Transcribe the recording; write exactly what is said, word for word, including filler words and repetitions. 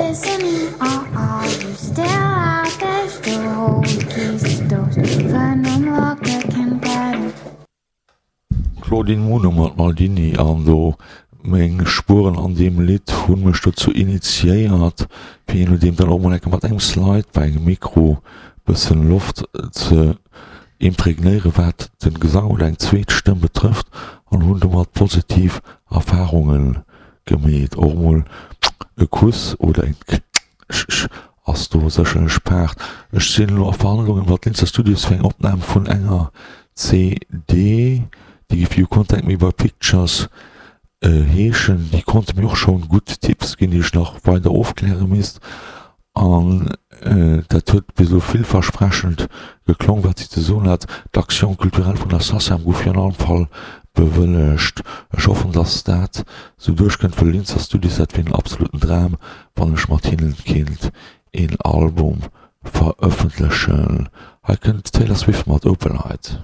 Listening, or are you still out there? Still hold the keys to doors Venom locker can get in. Claudine Muno mat Maldini an do meng Spueren an deem Lidd hunn mech dozou initiéiert fir je nodeem dann och mol enke mat engem Slide bei engem Mikro bëssen Loft ze impregnéieren wat den Gesang oder eng zweet Stëmm betrëfft an hunn domat positiv Erfahrungen gemeet. Och mol e Kuss oder en Sch ass do sécherlech Part. Ech sinn elo a Verhandlungen mat Linzer Studios fir eng Opnam vun enger C D, déi géif You Contact Me By Pictures heeschen. Déi konnte mir och schonn gutt Tipps ginn, déi ech nach weider ofkläre misst. An dat huet bis elo villversprechend geklong, wat si ze soen hat. D'Action culturelle vun der SACEM gouf jo an allem Fall bewëllegt. Ech hoffen, dass dat sou duerchkënnt, wëll Linzer Studios, dat wier en absoluten Dram, wann ech mat hinnen kéint een Album verëffentlechen. Hei kënnt d'Taylor Swift mat Opalite.